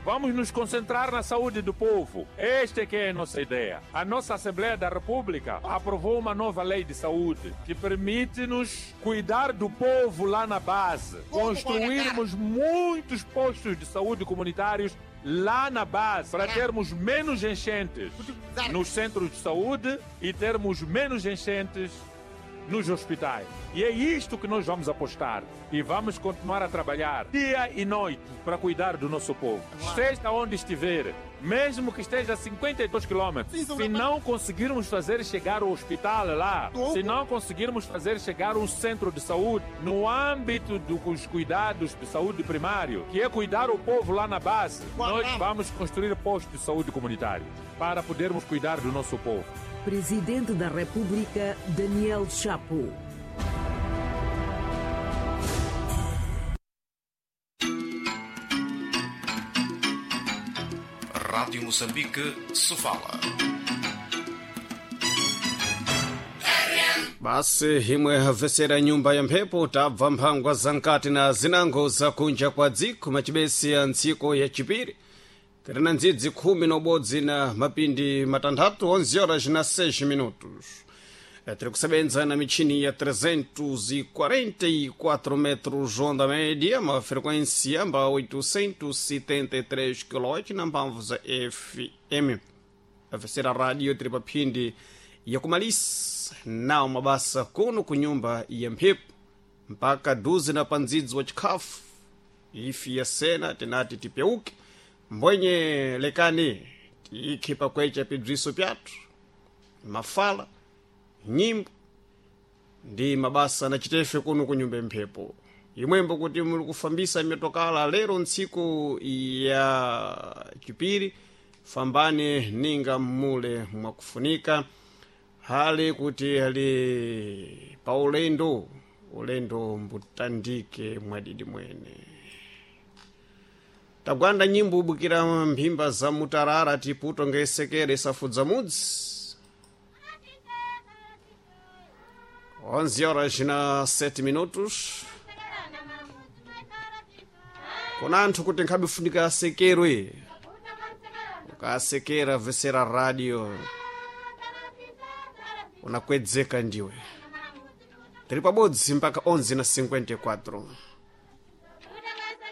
Vamos nos concentrar na saúde do povo. Esta é que é a nossa ideia. A nossa Assembleia da República aprovou uma nova lei de saúde que permite-nos cuidar do povo lá na base, construirmos muitos postos de saúde comunitários lá na base, para termos menos enchentes nos centros de saúde e termos menos enchentes nos hospitais. E é isto que nós vamos apostar. E vamos continuar a trabalhar dia e noite para cuidar do nosso povo. Esteja onde estiver, mesmo que esteja a 52 quilômetros, se não conseguirmos fazer chegar o hospital lá, se não conseguirmos fazer chegar um centro de saúde no âmbito dos cuidados de saúde primário, que é cuidar o povo lá na base, nós vamos construir postos de saúde comunitário para podermos cuidar do nosso povo. Presidente da República, Daniel Chapo. Rádio Moçambique, Sofala. Basi himwe havesera nyumba ya mphepo tabva mphangwa za nkati na zinango za kunja kwa dziko macibesi ya ntsiko ya chipiri tirina ndzidzi khumi na ubodzi na mapindi matanthatu 11 horas na 6 minutos. Tiri kusebenza na michini ya 344 metros onda média, uma frequência amba 873 kHz na mphamvu za FM. Afesera radio tiri paphindi yakumalisa nawo mabasa kuno ku nyumba ya mphepo mpaka duze na pandzidzi wa chikhafu ifi ya sena tinati tipyauke mbwenye lekani tiikhe pakwecha pibziso pyathu mafala nyimbo ndi mabasa na chitefe kuno ku nyumba mphepo imwembo kuti muli kufambisa mitokala lero ntsiku ya chipiri fambani ninga mmule mwakufunika hali kuti ali pa ulendo ulendo mbutandike mwadidi mwene tagwanda nyimbo ubukira mphimba za mutarara tiputo ngesekere safudza mudzi 11 horas na 7 minutos kuna anthu kuti nkhabifunika asekerwe ukasekera vesera radio unakwedzeka ndiwe tiri pabodzi mpaka 11 na 54.